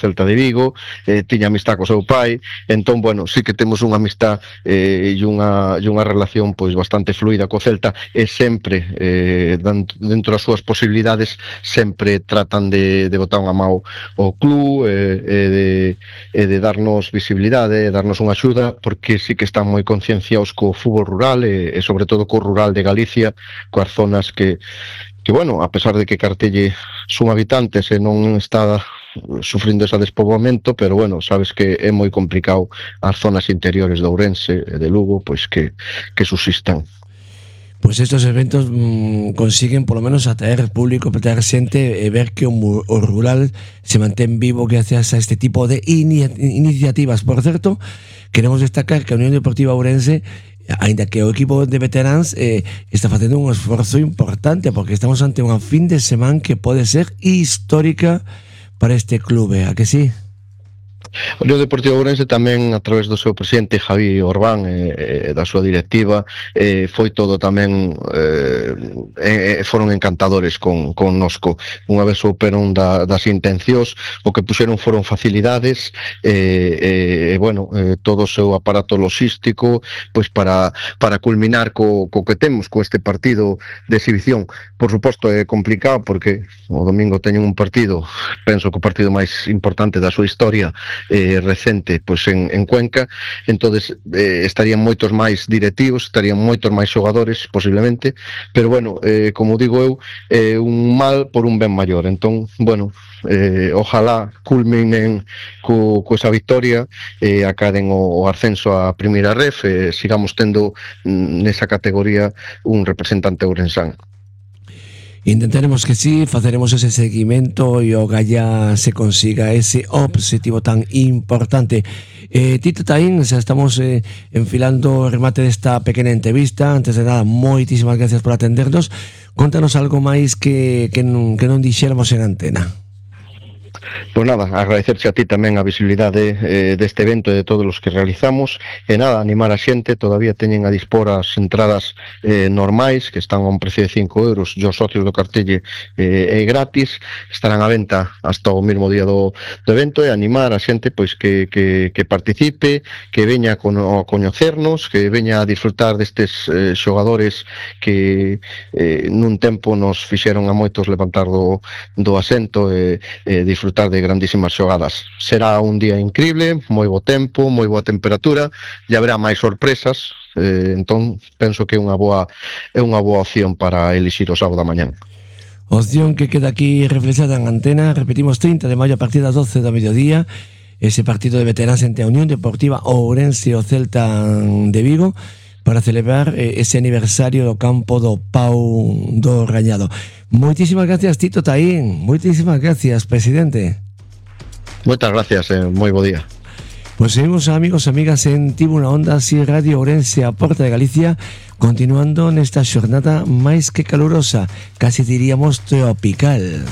Celta de Vigo, tiña amistad co seu pai, entón, bueno, sí que temos unha amistad e unha relación pois bastante fluida co Celta, e sempre, dentro das súas posibilidades, sempre tratan de botar unha mão ao club e de darnos visibilidade, e darnos unha axuda, porque sí que están moi concienciados co fútbol rural e sobre todo co rural de Galicia, coas zonas que bueno, a pesar de que Cartelle son habitantes e non está sufrindo ese despoboamento, pero bueno, sabes que é moi complicado as zonas interiores de Ourense e de Lugo, pois que subsistan. Pues estos eventos consiguen por lo menos atraer público, atraer xente e ver que o rural se mantén vivo gracias a este tipo de iniciativas. Por certo, queremos destacar que a Unión Deportiva Ourense, ainda que o equipo de veteráns está facendo un esforzo importante, porque estamos ante unha fin de semana que pode ser histórica para este clube, a que sí? O Unión Deportiva Ourense tamén, a través do seu presidente Javi Orbán e da súa directiva, foi todo tamén foron encantadores con nosco. Unha vez souperon das intencións, o que puxeron foron facilidades bueno, todo o seu aparato logístico pois para culminar co que temos, co este partido de exhibición. Por suposto é complicado porque o domingo teñen un partido, penso que o partido máis importante da súa historia recente pois en Cuenca, entonces estarían moitos máis directivos, estarían moitos máis xogadores posiblemente, pero bueno, como digo eu, un mal por un ben maior. Entón, bueno, ojalá culminen co esa victoria, acaden o ascenso a Primeira Ref, sigamos tendo nesa categoría un representante ourensán. Intentaremos que sí, faceremos ese seguimento e o Galla se consiga ese obxectivo tan importante. Tito Taín, xa estamos enfilando o remate desta pequena entrevista. Antes de nada, moitísimas gracias por atendernos. Contanos algo máis que non dixéramos en antena. Pois nada, agradecerche a ti tamén a visibilidade deste evento e de todos os que realizamos, e nada, animar a xente, todavía teñen a dispor as entradas normais, que están a un precio de 5 euros, e os socios do Cartelle é gratis, estarán a venta hasta o mesmo día do evento, e animar a xente pois que participe, que veña a coñecernos, que veña a disfrutar destes xogadores que nun tempo nos fixeron a moitos levantar do asento e disfrutar de grandísimas xogadas. Será un día increíble, moi bo tempo, moi boa temperatura, e haberá máis sorpresas, entón penso que é unha boa opción para elixir o sábado da mañán. Opción que queda aquí reflexada en antena. Repetimos, 30 de maio a partir das 12 do mediodía, ese partido de veteráns entre a Unión Deportiva Ourense e o Celta de Vigo, para celebrar ese aniversario do campo do Pau do Rañado. Moitísimas gracias, Tito Taín. Moitísimas gracias, presidente. Moitas gracias, moi bo día. Pues seguimos, amigos e amigas, en Tribuna Onda, así Radio Ourense, a Porta de Galicia, continuando nesta xornada máis que calurosa, casi diríamos tropical.